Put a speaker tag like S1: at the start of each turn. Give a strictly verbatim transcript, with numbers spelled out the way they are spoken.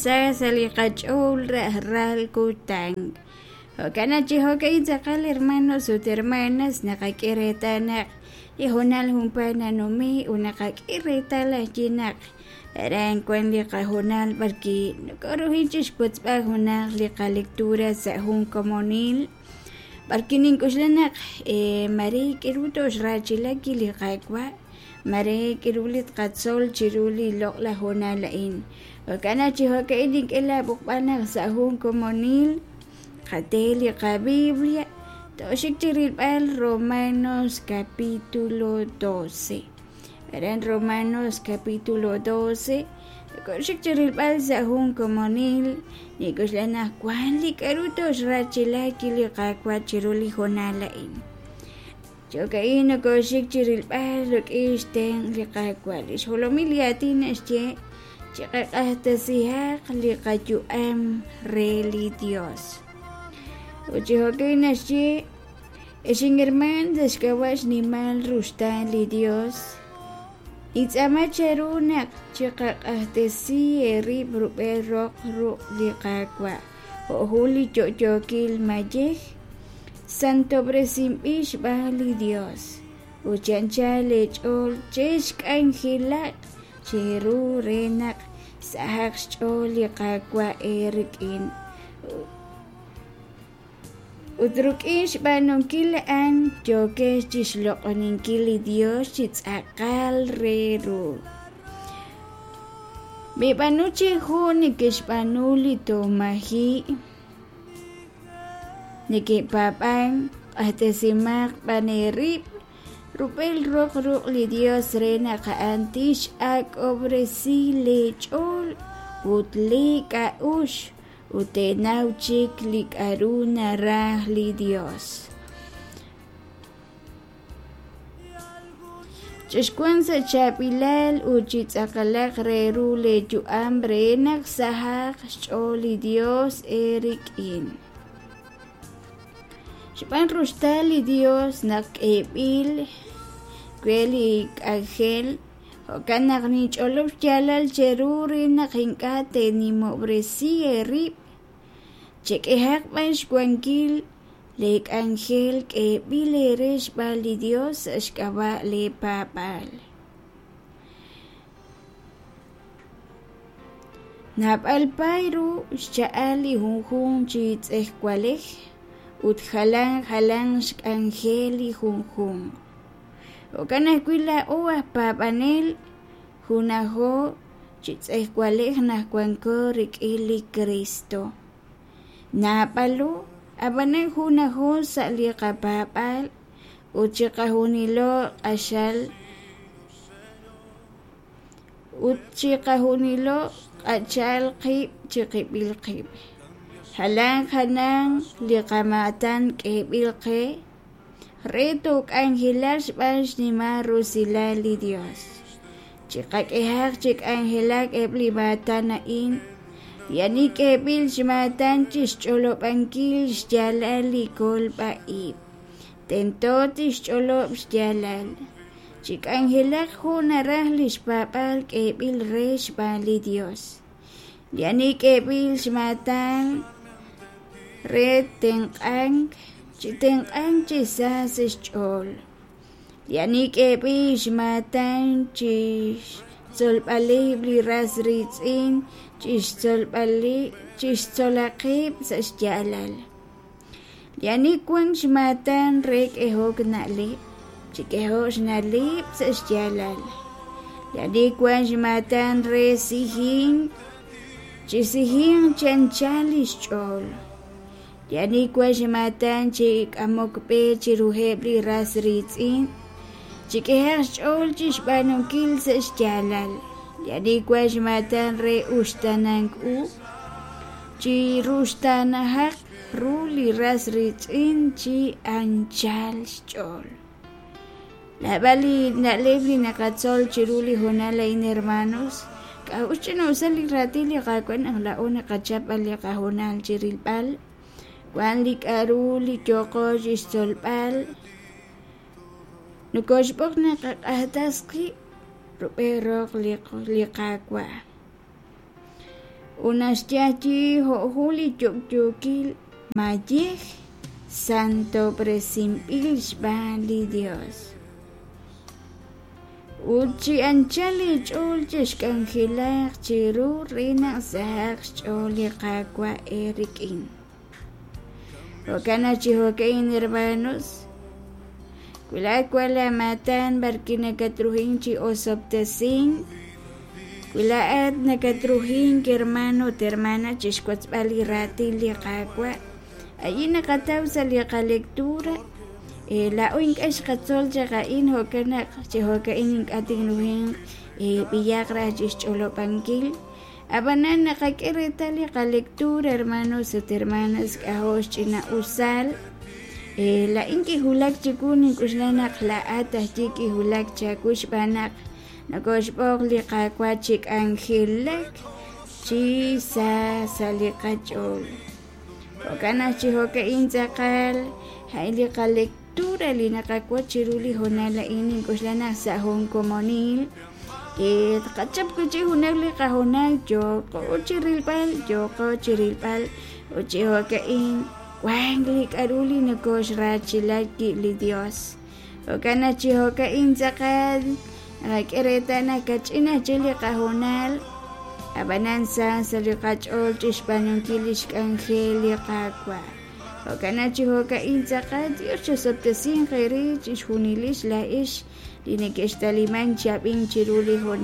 S1: sa sa' li qach'ool rajlal kutan. Jo'kan naq chi jo'ka'in tz'aqal hermanos ut hermanas naqak'e reetal naq li hoonal junpaat nanume' ut naqak'e reetal ajwi' naq aran wan li qahoonal b'arwi' nokoruhin chixwotzb'al junaq li qalectura sa' jun komonil b'arwi' nink'oxla naq mare k'aru toxraachilaki li Qaawa', mare k'aru li tqatzol chiru li loq'laj hoonal a'in. Jo'kan naq chi jo'ka'in nink'e laab'oqb'al naq sa' jun komonil qate li qaBiblia toxik chi rilb'al Romanos capítulo doce. Aran Romanos capítulo doce nokoxik chi rilb'al sa' jun komonil nink'oxla naq wan li k'aru toxraachilaki li Qaawa' chiru li hoonal a'in. Jo'ka'in nokoxik chi rilb'al rik'in xtenq' li Qaawa'. Li xjolomil li aatin naxye chiqaq'axtasihaq li qayu'am re li Dios. Ut chi jo'ka'in naxye ex inherman sa' xk'ab'a' xnimal ruxtaan li Dios nintz'aama cheru naq chiqaq'axtesi eerib' rub'el roq ruq' li Qaawa' jo' jun li yo'yookil mayej santob'resinb'il xb'aan li Dios ut chi anchal eech'ool chexk'anjelaq cheru re naq sahaq xch'ool li Qaawa' eerik'in. Ut rik'in xb'aanunkil a'an yookex chixloq'oninkil li Dios chi tz'aqal re ru. Mib'aanu chi jun neke'xb'aanu li tomaji' neke'paab'an q'axtesimaq b'an eerib' rub'el roq ruq' li Dios re naq a'an tix'ak'ob'resi leech'ool ut leek'a'uxl ut teenaw chik li k'aru naraj li Dios. Chexwanq sa' chaab'ilal ut chi tz'aqalaq re ru leeyu'am re naq sahaq xch'ool li Dios eerik'in. Xb'aan ruxtaal li Dios naq k'eeb'il we li k'anjel, jo'kan naq ninch'olob' xyaalal cheru re naq ink'a' teenimob'resi eerib', chek'ehaq b'an xwankil leek'anjel k'eeb'il eere xb'aan li Dios sa' xk'ab'a' leepaab'aal. Naab'al paay ru xcha'al li junjunq chi tz'ejwalej ut jalan jalanq xk'anjel li junjunq. Jo'kan ajwi' laa'o aj paab'anel junajo chi tz'ejwalej naq wanko rik'in li Cristo. Naab'alo, ab'anan junajo sa' li qapaab'aal ut chiqajunilo q'axal ut chiqajunilo q'achal qib' chiqib'il qib'. Jalan jalan li qamaatan k'eeb'il qe re took'anjelaq xb'aan xnimal rusilal li Dios. Chiqak'ehaq chi k'anjelak eb' li maatan a'in, li ani k'eeb'il xmaatan chixch'olob'ankil xyaalal li kolb'a-ib'. Tento tixch'olob' xyaalal. Chik'anjelaq jo' naraj li xpaab'aal k'eeb'il re xb'aan li Dios. Li ani k'eeb'il xmaatan re tenq'ank, chitenq'ank chi sa sa' xch'ool. Li ani k'eeb'il xmaatan chixtzolb'aleb' li ras riitz'in, chixtzolb'ali chixtzolaqeb' sa' xyaalal. Li ani wan xmaatan re k'ehok na'leb', chik'ehoq xna'leb' sa' xyaalal. Li ani wan xmaatan re sijink, chisijink chi anchal li xch'ool. Li ani wan xmaatan chi k'amok b'e chiruheb' li ras riitz'in, chik'ehaq xch'ool chixb'aanunkil sa' xyaalal. Li ani wan xmaatan re uxtaanank u, chiruxtaanahaq ru li ras riitz'in chi anchal xch'ool. Naab'al li na'leb' li naqatzol chiru li hoonal a'in hermanos, k'a'ux ch'ina'usal li raatin li Qaawa' naq laa'o naqachap li qahoonal chi rilb'al, wan li k'aru li yooqo chixtzolb'al, nokoxb'oq naq qaq'axtas qib' rub'el roq li li Qaawa'. Ut naxyayi jo' jun li yo'yookil mayej santob'resinb'il xb'aan li Dios. Ut chi anchal eech'ool chexk'anjelaq chiru re naq sahaq xch'ool li Qaawa' eerik'in. Jo'kan naq chi jo'ka'in hermanos, wi laa'at wan laa maatan b'arwi' nakatrujink chi osob'tesink, wi laa'at nakatrujink hermano ut hermana chixwotzb'al li raatin li Qaawa', a'in naqataw sa' li qalectura. Laa'o ink'a' xqatzol chaq a'in, jo'kan naq chi jo'ka'in ink'a' tinrujinq b'iyaq raj chixch'olob'ankil. Ab'anan naqak'e reetal li qalectura, hermanos ut hermanas, k'ajo' xch'ina'usal. Laa'in kiwulak chiwu, nink'oxla naq laa'at ajwi' kiwulak chawu xb'aan naq nokoxb'oq li Qaawa' chi k'anjelak chi sa sa' li qach'ool. Jo'kan naq chi jo'ka'in tz'aqal a'in li qalectura li naqawotz chiru li hoonal a'in, nink'oxla naq sa' jun komonil tqachap wi' chik junaq li qahoonal yooqo chi rilb'al, yooqo chi rilb'al ut chi jo'ka'in wank li k'a'ru li nokoxrachila wi' li Dios. Jo'kan naq chi jo'ka'in tz'aqal naqak'e reetal naq kach'in aj chik li qahoonal, ab'anan sa sa' li qach'ool chixb'aanunkil lix k'anjel li Qaawa'. Jo'kan naq chi jo'ka'in tz'aqal Dios chosob'tesinq eere chixjunilix laa'ex li neke'xtalimank chi ab'ink chiru li hoonal.